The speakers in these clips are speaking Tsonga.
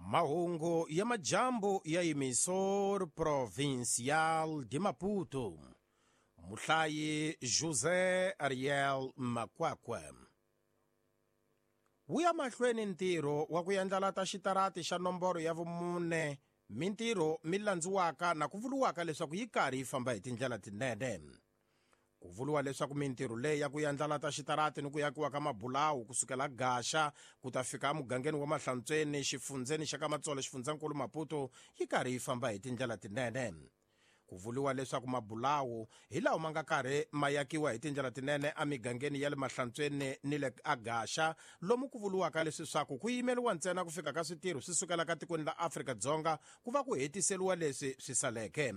Mahungu ya majambu ya Emissor Provincial de Maputo. Muhlayi José Ariel Makwakwa. Wu ya mahlweni ntirho wa ku yandlalata xitarati xa nomboro ya vumune, mintirho mi landziwaka na ku vuriwaka leswaku yi karhi yi famba hi tindlela tinene. Ku vuriwa leswaku mintirho leyi ya ku yandlalata xitarati ni ku yakiwa ka mabulawu kusukela Gaxa ku ta fika emugangeni wa Mahlantsweni, xifundzeni xa ka Matsolo, xifundzankulu Maputo, yi karhi yi famba hi tindlela tinene. Ku vuriwa leswaku mabulawu hi lawa ma nga karhi ma yakiwa hi tindlela tinene emigangeni ya le Mahlantsweni ni le Agaxa, lomu ku vuriwaka leswi swaku ku yimeriwa ntsena ku fika ka switirho swi sukelaka tikweni la Afrika-Dzonga ku va ku hetiseriwa leswi swi saleke.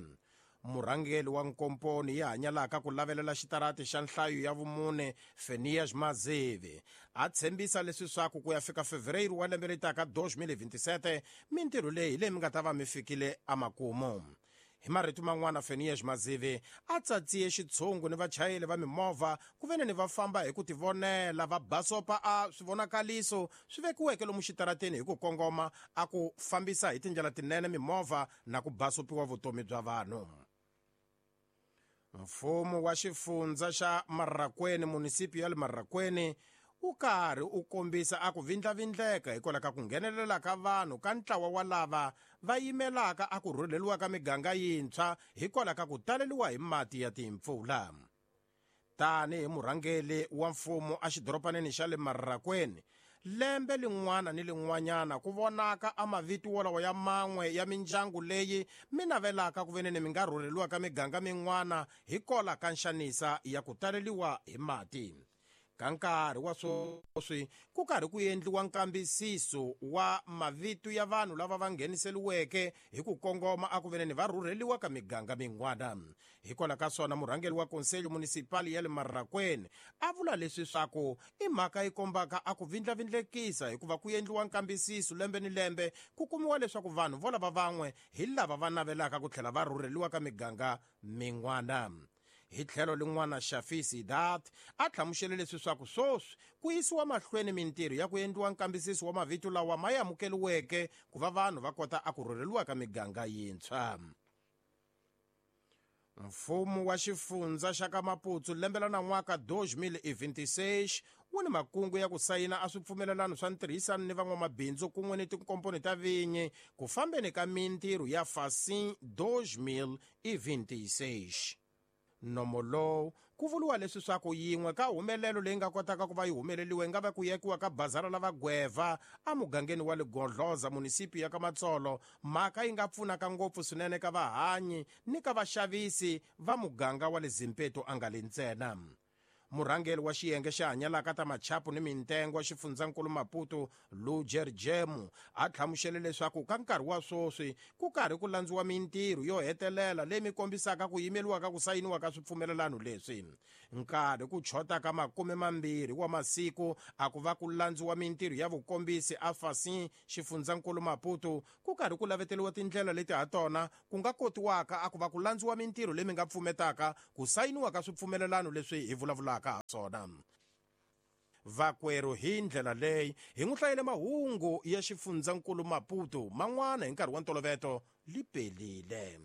Murhangeri wa nkomponi yi hanyalaka ku lavelela xitarati xa nhlayo ya vumune, Fenias Mazivi, a tshembisa leswi swaku ku ya fika Fevereiro wa lembe leri taka 2027 mintirho leyi hi leyi mi nga ta va mi fikile emakumu. Hi marito man'wana, Fenias Mazivi a tsatsiye xitshungu ni vachayeri va mimovha ku ve ni va famba hi ku tivonela, va basopa a swivonakaliso swi vekiweke lomu xitarateni hi ku kongoma, a ku fambisa hi tindlela tinene mimovha na ku basopiwa vutomi bya vanhu. Mfumo wa xifundza xa Marraquene, munisipi ya le Marraquene, wu karhi u kombisa a ku vindlavindleka hikwalaho ka ku nghenelela ka vanhu ka ntlawa wa lava va yimelaka a ku rhurheliwa ka miganga yintshwa hikwalaho ka ku taleliwa hi mati ya timpfula. Tanihi murhangeri wa mfumo exidorobaneni xa le Marraquene, lembe lin'wana ni lin'wanyana ku vonaka a mavito wolawo ya man'we ya mindyangu leyi mi navelaka ku veneni mi nga rhurheliwa ka miganga min'wana hikwalaho ka nxanisa ya ku taleliwa hi mati. Ka nkarhi wa sweswi ku karhi ku endliwa nkambisiso wa mavito ya vanhu lava va ngheniseliweke hi ku kongoma a ku veneni va rhurheliwa ka miganga min'wana. Hikwalaho ka swona, murhangeri wa Conselho Municipal ya le Marraquene a vula leswi swaku i mhaka yi kombaka a ku vindlavindlekisa hikuva ku endliwa nkambisiso lembe ni lembe ku kumiwa leswaku vanhu volava van'we hi lava va navelaka ku tlhela va rhurheliwa ka miganga min'wana. Hi tlhelo lin'wana, Shafi Sidat a hlamusele leswi swaku sweswi ku yisiwa mahlweni mintirho ya ku endliwa nkambisiso wa mavito lawa ma amukeliweke ku va vanhu va kota a ku rhurheliwa ka miganga yintshwa. Mfumo wa xifundza xa ka Maputo lembe la nan'waka 2026 wu ni makungu ya ku sayina a swipfumelelano swa ntirhisano ni van'wamabindzu kun'we ni tinkomponi ta vinyi ku fambeni ka mintirho ya Facin 2026. Nomo lowu ku vuriwa leswi swaku yin'we ka humelelo leyi nga kotaka ku va yi humeleliwe yi nga va ku yekiwa ka bazara la vagweva emugangeni wa Ligodloza, munisipi ya ka Matsolo, mhaka yi nga pfunaka ngopfu swinene ka vahanyi ni ka vaxavisi va muganga wa le Zimpeto a nga le ntsena. Murhangeri wa xiyenge xa hanyalaka ta machapu ni mintengo xifundzankulu Maputo, Lujer Jemu, a hlamusele leswaku ka nkarhi wa sweswi ku karhi ku landziwa mintirho yo hetelela leyi mi kombisaka ku yimeliwa ka ku sayiniwa ka swipfumelelano leswi. Nkarhi ku chota ka 20 wa masiku a ku va ku landziwa mintirho ya vukombisi a Facin xifundzankulu Maputo, ku karhi ku laveteriwa tindlela leti ha tona ku nga kotiwaka a ku va ku landziwa mintirho leyi mi nga pfumetaka ku sayiniwa ka swipfumelelano leswi hi vulavulaka ha swona. Vakwerhu, hi ndlela leyi hi n'wi hlayele mahungu ya xifundzankulu Maputo man'wana hi nkarhi wa ntoloveto li pelile.